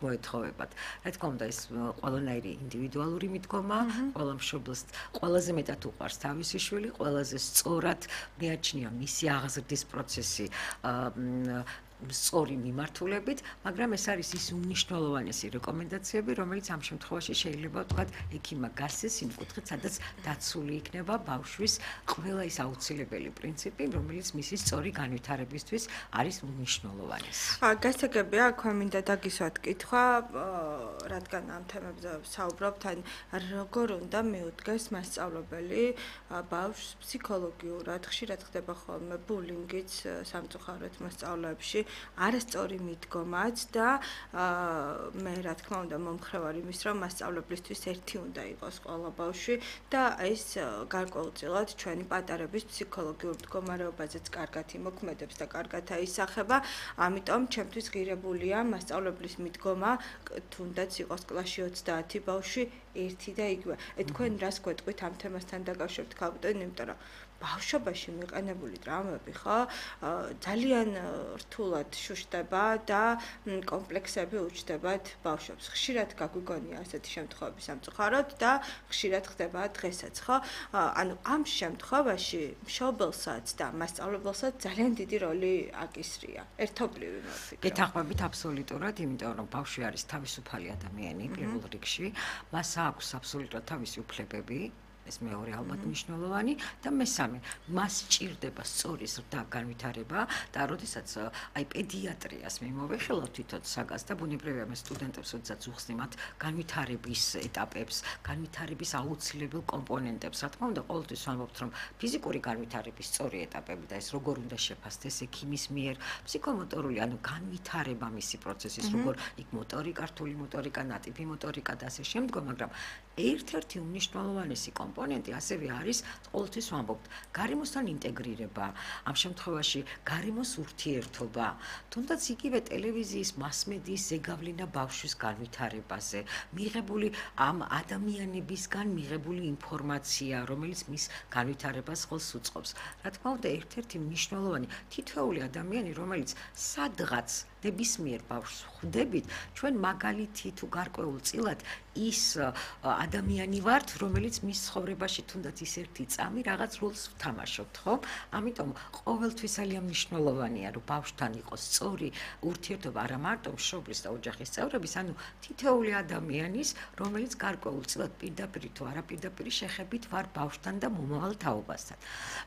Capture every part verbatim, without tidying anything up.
მოეთხოვებათ. რა თქმა უნდა, ეს ყველანაირი ინდივიდუალური მიდგომა, ყველა მშობელს ყველაზე მეტად უყვარს თავისი შვილი, ყველაზე სწორად მიაჩნია მისი აღზრდის პროცესი სწორი მიმართულებით, მაგრამ ეს არის ის უმნიშვნელოვანესი რეკომენდაციები, რომელიც ამ შემთხვევაში შეიძლება ვთქვათ, ექიმმა გასცეს იმ კუთხით, სადაც დაცული იქნება ბავშვის ყველა ის აუცილებელი პრინციპი, რომელიც მისი სწორი განვითარებისთვის არის უმნიშვნელოვანესი. გასაგებია, აქვე მინდა დაგისვათ კითხვა, რადგან ამ თემებზე საუბრობთ, ან როგორ უნდა მიუდგეს მასწავლებელი ბავშვს ფსიქოლოგიურად, ხშირად ხდება ხოლმე ბულინგიც სამწუხაროდ მასწავლებლებში, არასწორი მიდგომაც და მე რა თქმა უნდა მომხრევარ იმის, რომ მასწავლებლისთვის ერთი უნდა იყოს ყველა ბავშვი და ეს გარკვეულწილად ჩვენი პატარების ფსიქოლოგიურ მდგომარეობაზეც კარგად იმოქმედებს და კარგად აისახება, ამიტომ ჩემთვის ღირებულია მასწავლებლის მიდგომა, თუნდაც იყოს კლასში ოცდაათი ბავშვი ერთი და იგივე. თქვენ რას გვეტყვით ამ თემასთან დაკავშირებით, ქალბატონო, იმიტომ რომ ბავშვობაში მიყენებული ტრამვები ხო ძალიან რთულად შუშტება და კომპლექსები უჩნდებათ ბავშვებს. ხშირად გაგვიგონია ასეთი შემთხვევები სამწუხაროდ და ხშირად ხდება დღესაც, ხო? ანუ ამ შემთხვევაში მშობელსაც და მასწავლებელსაც ძალიან დიდი როლი აკისრია. ერთობლივი მოვფიქრო. გეთანხმებით აბსოლუტურად, იმიტომ რომ ბავშვი არის თავისუფალი ადამიანი პირველ რიგში, მას აქვს აბსოლუტურად თავისი უფლებები. ეს მეორე ალბათ მნიშვნელოვანი და მესამე მას სჭირდება სწორი ზრდა განვითარება და როდესაც აი პედიატრიას მიმოვეხილავთ თვითონ საგას და ბუნებრივია მე სტუდენტებს როდესაც უხსნი მათ განვითარების ეტაპებს, განვითარების აუცილებელ კომპონენტებს, რა თქმა უნდა ყოველთვის ვამბობთ რომ ფიზიკური განვითარების სწორი ეტაპები და ეს როგორ უნდა შეფასდეს ექიმის მიერ, ფსიქომოტორული, ანუ განვითარება მისი პროცესის, როგორ იქ მოტორიკა, რთული მოტორიკა, ნატიფი მოტორიკა და ასე შემდგომ, მაგრამ ერთ-ერთი უმნიშვნელოვანესი კომპონენტი ასევე არის ყოველთვის ვამბობთ გარემოსთან ინტეგრირება, ამ შემთხვევაში გარემოს ურთიერთობა, თუნდაც იგივე ტელევიზიის მასმედიის ზეგავლენა ბავშვის განვითარებაზე, მიღებული ამ ადამიანებისგან მიღებული ინფორმაცია, რომელიც მის განვითარებას ხელს უწყობს. რა თქმა უნდა, ერთ-ერთი მნიშვნელოვანი თითოეული ადამიანი, რომელიც სადღაც ნებისმიერ ბავშვს ხვდებით, ჩვენ მაგალითი თუ გარკვეულწილად ის ადამიანი ვართ, რომელიც მის ცხოვრებაში თუნდაც ის ერთი წამი რაღაც როლს ვთამაშობთ, ხო? ამიტომ ყოველთვის ძალიან მნიშვნელოვანია, რომ ბავშვთან იყოს სწორი ურთიერთობა არა მარტო მშობლის და ოჯახის წევრების, ანუ თითოეული ადამიანის, რომელიც გარკვეულწილად პირდაპირ თუ არაპირდაპირ შეხებით ვარ ბავშვთან და მომავალ თაობასთან.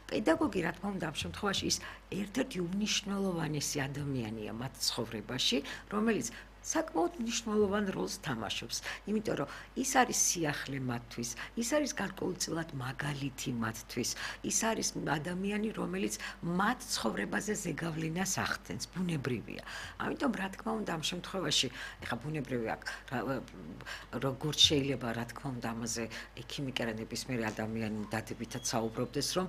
პედაგოგი, რა თქმა უნდა, ამ შემთხვევაში ის ერთ-ერთი უმნიშვნელოვანესი ადამიანია მათ ცხოვრებაში, რომელიც საკმაოდ მნიშვნელოვან როლს თამაშობს, იმიტომ რომ ის არის სიახლე მათთვის, ის არის გარკვეულწილად მაგალითი მათთვის, ის არის ადამიანი, რომელიც მათ ცხოვრებაზე ზეგავლენას ახდენს, ბუნებრივია. ამიტომ რა თქმა უნდა ამ შემთხვევაში, ეხლა ბუნებრივია, როგორც შეიძლება რა თქმა უნდა ამაზე ექიმი კი არა ნებისმიერი ადამიანი დადებითად საუბრობდეს, რომ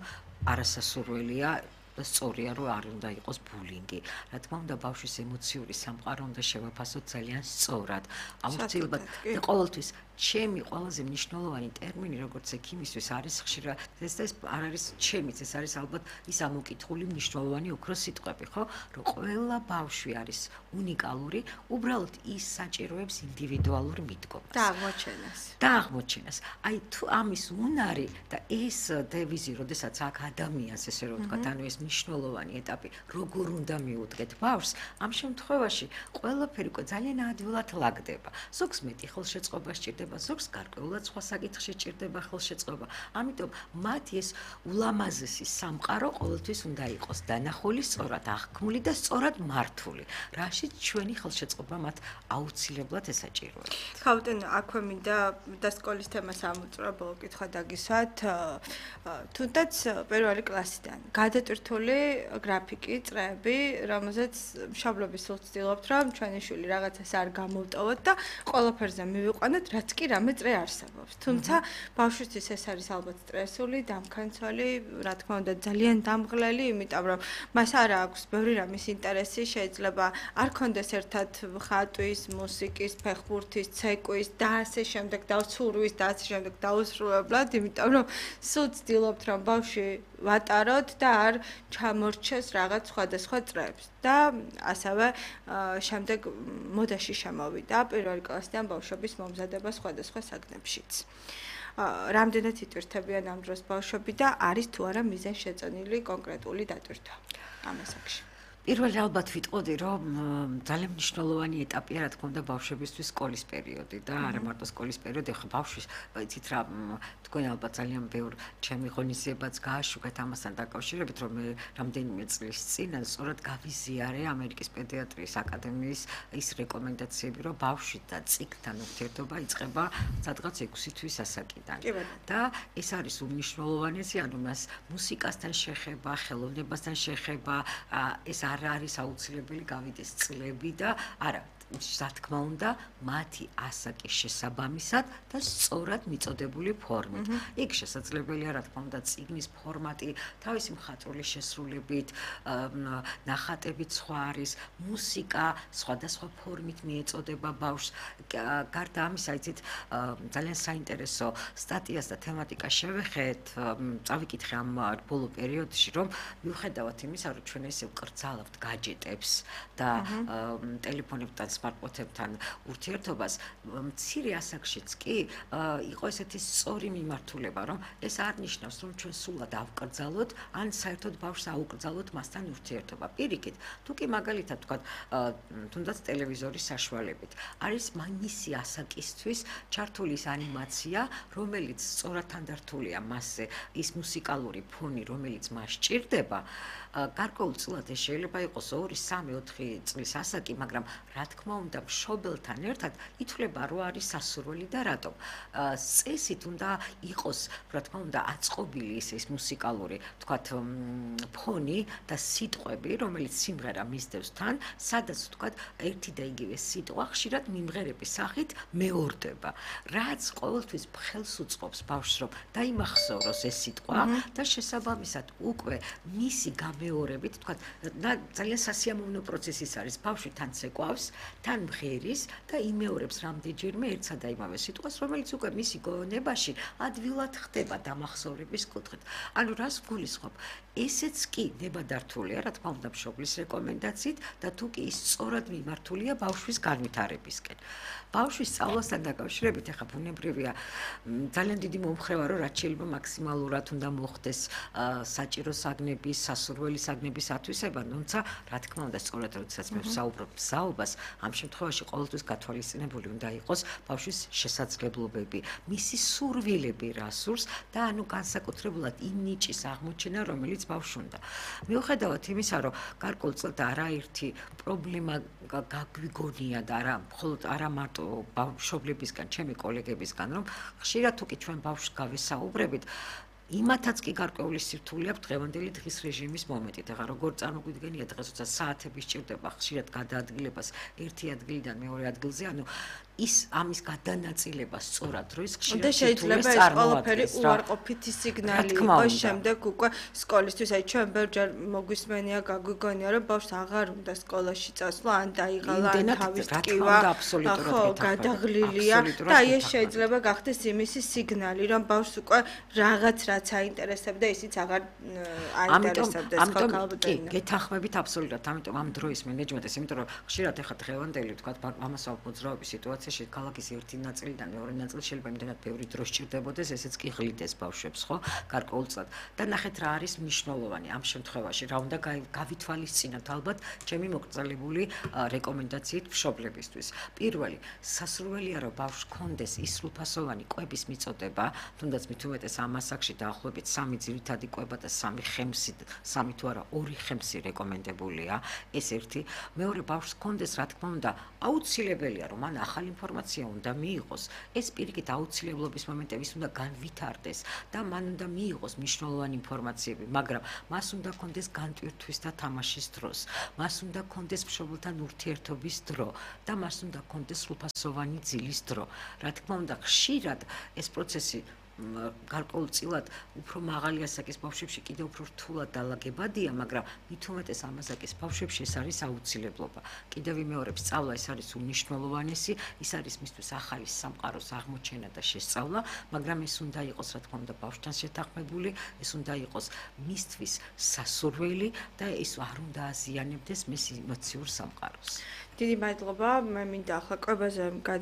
არასასურველია და სწორია რომ არ უნდა იყოს ბულინგი. რა თქმა უნდა ბავშვის ემოციური სამყარო უნდა შევაფასოთ ძალიან სწორად. აუცილებლად და ყოველთვის ჩემი ყველაზე მნიშვნელოვანი ტერმინი როგორც ექიმისთვის არის ხშირად ეს ეს არ არის ჩემიც ეს არის ალბათ ის ამოკითხული მნიშვნელოვანი ოქროს სიტყვები, ხო? რომ ყველა ბავშვი არის უნიკალური, უბრალოდ ის საჭიროებს ინდივიდუალურ მიდგომას. და აღმოჩენას. და აღმოჩენას. აი თუ ამის უნარი და ეს დევიზი, როდესაც აქ ადამიანს ესე რომ ვთქვათ, ანუ ეს მნიშვნელოვანი ეტაპი, როგორ უნდა მიუდგეთ ბავშვს, ამ შემთხვევაში ყველაფერი უკვე ძალიან ადვილად ლაგდება. ზოგს მეტი ხელშეწყობა სჭირდება, ზოგს გარკვეულად სხვა საკითხში სჭირდება ხელშეწყობა. ამიტომ მათი ეს ულამაზესი სამყარო ყოველთვის უნდა იყოს დანახული, სწორად აღქმული და სწორად მართული. რაშიც ჩვენი ხელშეწყობა მათ აუცილებლად ესაჭიროებს. ქალბატონო, აქვე მინდა და სკოლის თემას ამოწურებულ კითხვა დაგისვათ, თუნდაც პირველი კლასიდან გადატვირთული გრაფიკი, წრეები, რომელზეც მშობლები სულ ცდილობთ, რომ ჩვენი შვილი რაღაცას არ გამოვტოვოთ და ყველაფერზე მივიყვანოთ, რაც კი რამე წრე არსებობს. თუმცა ბავშვისთვის ეს არის ალბათ სტრესული, დამქანცველი, რა თქმა უნდა, ძალიან დამღლელი, იმიტომ რომ მას არ აქვს ბევრი რამის ინტერესი, შეიძლება არ ქონდეს ერთად ხატვის, მუსიკის, ფეხბურთის, ცეკვის და ასე შემდეგ და ცურვის და ასე შემდეგ დაუსრულებლად, იმიტომ რომ სულ ცდილობთ, რომ ბავშვი ვატაროთ და არ ჩამორჩეს რაღაც სხვადასხვა წრეებს. და ასევე შემდეგ მოდაში შემოვიდა პირველი კლასიდან ბავშვების მომზადება სხვადასხვა საგნებშიც. რამდენად იტვირთებიან ამ დროს ბავშვები და არის თუ არა მიზანშეწონილი კონკრეტული დატვირთვა ამ ასაკში. პირველი ალბათ ვიტყოდი, რომ ძალიან მნიშვნელოვანი ეტაპია, რა თქმა უნდა, ბავშვებისთვის სკოლის პერიოდი და არა მარტო სკოლის პერიოდი, ხო ბავშვის, იცით რა, თქვენ ალბათ ძალიან ბევრ ჩემი ღონისძიებაც გააშუქეთ ამასთან დაკავშირებით, რომ მე რამდენიმე წლის წინ სწორად გავიზიარე ამერიკის პედიატრიის აკადემიის ის რეკომენდაციები, რომ ბავშვი და წიგნთან ურთიერთობა იწყება სადღაც ექვსი თვის ასაკიდან. და ეს არის უმნიშვნელოვანესი, ანუ მას მუსიკასთან შეხება, ხელოვნებასთან შეხება, ეს არ არის აუცილებელი გავიდეს წლები და არა რა თქმა უნდა მათი ასაკის შესაბამისად და სწორად მიწოდებული ფორმით. იქ შესაძლებელია რა თქმა უნდა წიგნის ფორმატი თავისი მხატვრული შესრულებით, ნახატებით სხვა არის, მუსიკა სხვადასხვა ფორმით მიეწოდება ბავშვს. გარდა ამისა, იცით, ძალიან საინტერესო სტატიას და თემატიკას შევეხეთ, წავიკითხე ამ ბოლო პერიოდში, რომ მიუხედავად იმისა, რომ ჩვენ ესე ვკრძალავთ გაჯეტებს და ტელეფონებთან სმარტფონებთან ურთიერთობას, მცირე ასაკშიც კი იყო ესეთი სწორი მიმართულება, რომ ეს არ ნიშნავს, რომ ჩვენ სულად ავკრძალოთ, ან საერთოდ ბავშვს აუკრძალოთ მასთან ურთიერთობა. პირიქით, თუ კი მაგალითად ვთქვათ, თუნდაც ტელევიზორის საშუალებით, არის მისი ასაკისთვის ჩართული ის ანიმაცია, რომელიც სწორად თანდართულია მასზე, ის მუსიკალური ფონი, რომელიც მას სჭირდება, გარკვეულწილად ეს შეიძლება იყოს ორი, სამი, ოთხი წლის ასაკი, მაგრამ რა თქმა უნდა, მშობელთან ერთად ითვლება, რომ არის სასურველი და რატომ. წესით უნდა იყოს, რა თქმა უნდა, აწყობილი ის მუსიკალური, თქვათ, ფონი და სიტყვები, რომელიც სიმღერა მისდევს თან, სადაც თქვათ, ერთი და იგივე სიტყვა ხშირად მიმღერების სახით მეორდება. რაც ყოველთვის ხელს უწყობს ბავშვს, რომ დაიმახსოვროს ეს სიტყვა და შესაბამისად უკვე მისი გამეორებით, თქვათ, ძალიან სასიამოვნო პროცესის არის, ბავშვი თან ცეკვავს, თან მღერის და იმეორებს რამდენჯერმე ერთსა და იმავე სიტყვას, რომელიც უკვე მისი გონებაში ადვილად ხდება დამახსოვრების კუთხით. ანუ რას გულისხმობ? ესეც კი ნებადართულია, რა თქმა უნდა, მშობლის რეკომენდაციით და თუ კი ის სწორად მიმართულია ბავშვის განვითარებისკენ. ბავშვის სწავლასთან დაკავშირებით, ახლა ბუნებრივია, ძალიან დიდი მომხრევა, რომ რაც შეიძლება მაქსიმალურად უნდა მოხდეს საჭირო საგნების, სასურველი საგნების ათვისება, თუმცა, რა თქმა უნდა, სწორად როდესაც მე ვსაუბრობ მზაობას, ამ შემთხვევაში ყოველთვის გათვალისწინებული უნდა იყოს ბავშვის შესაძლებლობები, მისი სურვილები რა სურს და ანუ განსაკუთრებულად იმ ნიჭის აღმოჩენა, რომელიც ბავშვს უნდა. მიუხედავად იმისა, რომ გარკვეულწილად არაერთი პრობლემა გაგვიგონია და არა მხოლოდ არა მარტო მშობლებისგან, ჩემი კოლეგებისგან, რომ ხშირად თუ კი ჩვენ ბავშვს გავესაუბრებით, იმათაც კი გარკვეული სირთულე აქვს დღევანდელი დღის რეჟიმის მომენტით. ახლა როგორ წარმოგვიდგენია დღეს, როცა საათები სჭირდება ხშირად გადაადგილებას ერთი ადგილიდან მეორე ადგილზე, ანუ ის ამის გადანაწილება სწორად რო ის ხშირად შეიძლება ეს ყველაფერი უარყოფითი სიგნალი იყოს შემდეგ უკვე სკოლისთვის. აი ჩვენ ბევრჯერ მოგვისმენია, გაგვიგონია, რომ ბავშვს აღარ უნდა სკოლაში წასვლა, ან დაიღალა, ან თავის ტკივა, ხო, გადაღლილია და აი ეს შეიძლება გახდეს იმისი სიგნალი, რომ ბავშვს უკვე რაღაც რაც აინტერესებდა, ისიც აღარ აინტერესებდეს ხო ქალბატონი. გეთანხმებით აბსოლუტურად, ამიტომ ამ დროის მენეჯმენტის, იმიტომ რომ ხშირად ახლა დღევანდელი თქვა ამასაო მოძრაობის სიტუაციაში ქალაქის ერთი ნაწილიდან მეორე ნაწილი შეიძლება იმდენად ბევრი დრო სჭირდებოდეს, ესეც კი ღლიდეს ბავშვებს, ხო, გარკვეულწილად. და ნახეთ რა არის მნიშვნელოვანი ამ შემთხვევაში, რა უნდა გავითვალისწინოთ ალბათ ჩემი მოკრძალებული რეკომენდაციით მშობლებისთვის. პირველი, სასურველია რომ ბავშვს კონდეს ის სრულფასოვანი კვების მიწოდება, თუნდაც მით უმეტეს ამ ასაკში დაახლოებით სამი ძირითადი კვება და სამი ხემსი, სამი თუ არა ორი ხემსი რეკომენდებულია, ეს ერთი. მეორე, ბავშვს კონდეს, რა თქმა უნდა, აუცილებელია რომ მან ახალი ინფორმაცია უნდა მიიღოს. ეს პირიქით აუცილებლობის მომენტების უნდა განვითარდეს და მან უნდა მიიღოს მნიშვნელოვანი ინფორმაციები, მაგრამ მას უნდა კონდეს განტვირთვის და თამაშის დროს. მას უნდა კონდეს მშობელთან ურთიერთობის დრო და მას უნდა კონდეს სრულფასოვანი ძილის დრო. რა თქმა უნდა, ხშირად ეს პროცესი გარკვეულწილად უფრო მაღალი ასაკის ბავშვებში კიდევ უფრო რთულად დალაგებადია, მაგრამ მით უმეტეს ამ ასაკის ბავშვებში ეს არის აუცილებლობა. კიდევ ვიმეორებ, სწავლა ეს არის უნიშნელოვანესი, ის არის მისთვის ახალი სამყაროს აღმოჩენა და შესწავლა, მაგრამ ეს უნდა იყოს, რა თქმა უნდა, ბავშვთან შეთანხმებული, ეს უნდა იყოს მისთვის სასურველი და ეს არ უნდა აზიანებდეს მის ემოციურ სამყაროს. დიდი მადლობა, მე მინდა ახლა კვებაზე